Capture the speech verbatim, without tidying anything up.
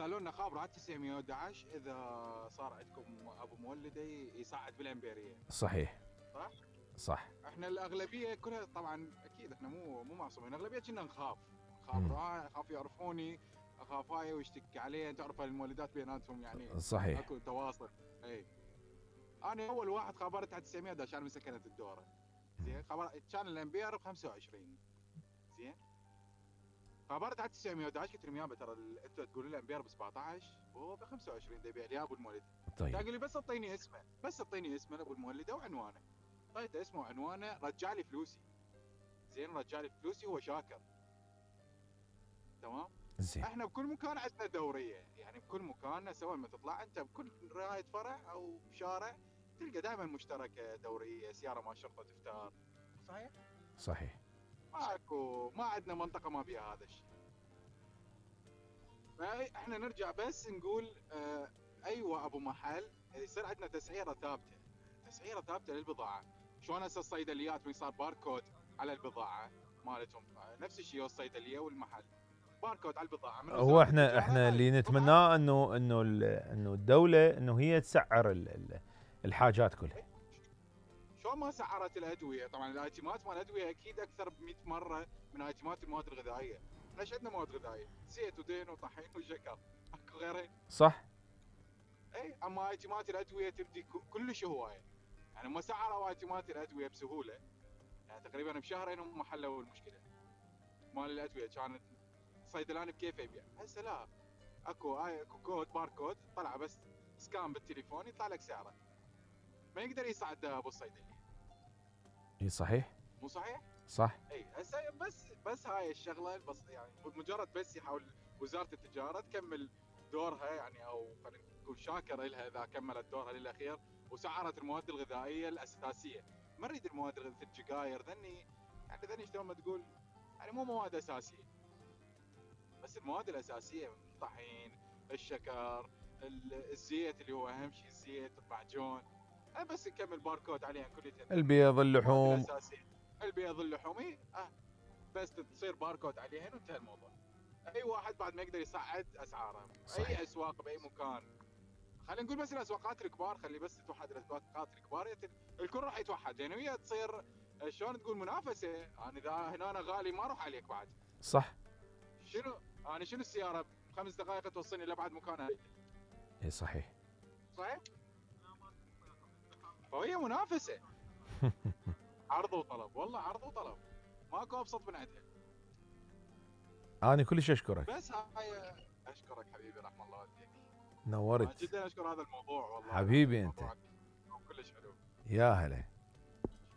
قالوا لنا خابروا على تسعمية وأحد عشر اذا صار عندكم ابو مولده يصعد بالامبيريه. صحيح صح؟ صح. احنا الاغلبيه كلها طبعا اكيد احنا مو مو معصومين، الاغلبيه كنا نخاف نخاف مم. آه، اخاف يعرفوني، اخاف هاي ويشتكي علي، تعرف المولدات بيناتهم يعني صحيح. اكو تواصل. اي انا اول واحد خابرت على تسعمية وأحد عشر من سكنه الدوره. زين خبر كان الامبير ب خمسة وعشرين. زين خبرت على تسعمية وأحد عشر قلت لهم يابا ترى انتم تقولوا لي الامبير ب سبعطعش وهو ب خمسة وعشرين دا يبيع لي ابو المولد. طيب قال لي بس اعطيني اسمه، بس اعطيني اسمه ابو المولده وعنوانه. اعطيته اسمه وعنوانه، رجع لي فلوسي. زين رجع لي فلوسي هو شاكر. تمام. زين. احنا بكل مكان عندنا دوريه، يعني بكل مكان سواء ما تطلع انت بكل رعايه فرع او شارع تلقى دائما مشتركه دوريه، سياره مال شرطه تفتار. صحيح؟ صحيح. ماكو ما عندنا منطقه ما فيها هذا الشيء. فاحنا نرجع بس نقول اه ايوه ابو محل يصير عندنا تسعيره ثابته، تسعيره ثابته للبضاعه. شلون هسه الصيدليات من صار باركود على البضاعه مالتهم، نفس الشيء الصيدليه والمحل باركود على البضاعه. من هو احنا احنا اللي نتمناه انه انه انه الدوله انه هي تسعر ال ال الحاجات كلها. شلون ما سعرت الادويه؟ طبعا الايتمات مال الادويه اكيد اكثر ب مئة مره من ايتمات المواد الغذائيه. ليش عندنا مواد غذائيه؟ زيت ودهن وطحين وشكر، اكو غيرها؟ صح. اي اما ايتمات الادويه تبدي كلش هوايه. يعني ما سعروا ايتمات الادويه بسهوله، يعني تقريبا بشهرين هم حلوا المشكله مال الادويه. كانت صيدلاني بكيفه يبيع، هسه لا، اكو اكو كود باركود طلع بس سكان بالتليفون يطلع لك سعره. ما يقدر يصعد ابو الصيدليه. اي صحيح. مو صحيح؟ صح. اي هسه بس بس هاي الشغله بس يعني مجرد بس يحاول وزاره التجاره تكمل دورها، يعني او خلينا نقول شاكر لها اذا كملت دورها للاخير وسعرت المواد الغذائيه الاساسيه. ما نريد المواد الغذائيه السجاير ذني، يعني ذني شلون ما تقول يعني مو مواد اساسيه، بس المواد الاساسيه الطحين، الشكر، الزيت اللي هو اهم شيء، الزيت، المعجون، بس نكمل باركود عليها كليتها. البيض، اللحوم، البيض، اللحوم، اه بس تصير باركود عليهن وانتهى الموضوع. اي واحد بعد ما يقدر يصعد اسعاره. صحيح. اي اسواق باي مكان، خلينا نقول بس الاسواقات الكبار، خلي بس توحد الاسواقات الكبار، الكل راح يتوحد لان هي تصير شلون تقول منافسه. انا اذا هنا أنا غالي ما اروح عليك بعد. صح. شنو انا شنو السياره بخمس دقائق توصلني لابعد مكان. اي صحيح. صحيح. فهي منافسه. عرض وطلب، والله عرض وطلب، ماكو ابسط من عندها. انا كلش اشكرك. بس هاي اشكرك حبيبي، رحم الله والديك. نورت جدا اشكر هذا الموضوع والله حبيبي انت. كلش حلو. يا هلا.